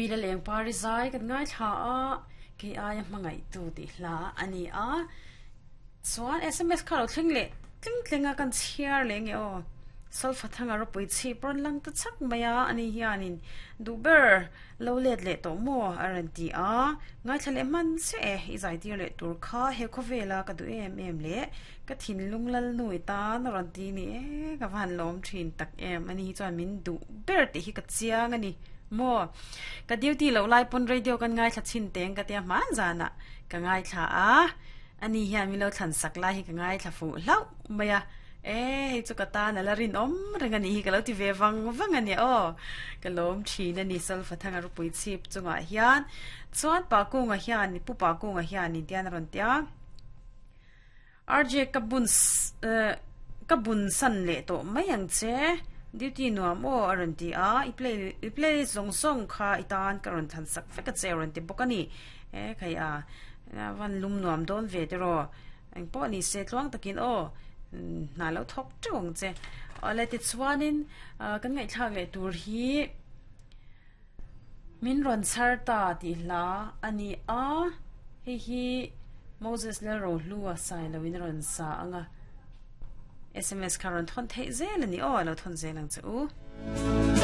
Vila leng pari zai kan ngaithla a, kei aia hmangaihtu tih hla a ni a. Chuan sms kha lo thleng leh tling tling a kan chhiar leh nge aw. Solfa thanga ropui chhip rawn lang ta chak mai a, ani hianin duh ber lo let leh tawh maw a rawn ti a. Ngaithla leh hman chiah e, i zai tir leh tur kha he khawvela ka duh em em leh ka thinlung lalnu i tan a rawn ti ni e, ka va han lawm thin tak em, ani hi chuan min duh ber tih hi ka chiang a ni maw. Ka duty loh lai pawn radio kan ngaithla chhin teng ka tia hman zanah ka ngaithla a. Ani hian min lo thlan sak lai hi ka ngaithla fuh hlauh mai a, e hei chu ka tan a la rinawm reng a nih hi ka lo ti ve vang vang a nia aw. Ka lawm thin a ni Solfa Thanga Rupui chhip chungah hian chuan Pa Kunga hian Pu Pa Kunga hian in tian a rawn ti a, RJ ka bun ka bun san leh tawh mai ang che, duty nuam aw a rawn ti a, i play i playlist zawng zawng kha i tan ka rawn thlan sak vek a che a rawn ti bawk a ni. E khai a. A van lum nuam dawn ve te rawh. Eng pawh ni se tluang takin aw hna lo thawk teuh ang che. Awle tichuanin kan ngaihthlak leh tur hi min rawn chhar ta tih hla a ni a. Hei hi Moses Lalrohlua Sailoin a rawn sa ang a. Sms kha rawn thawn theih zel a ni aw, a lo thawn zel ang che u.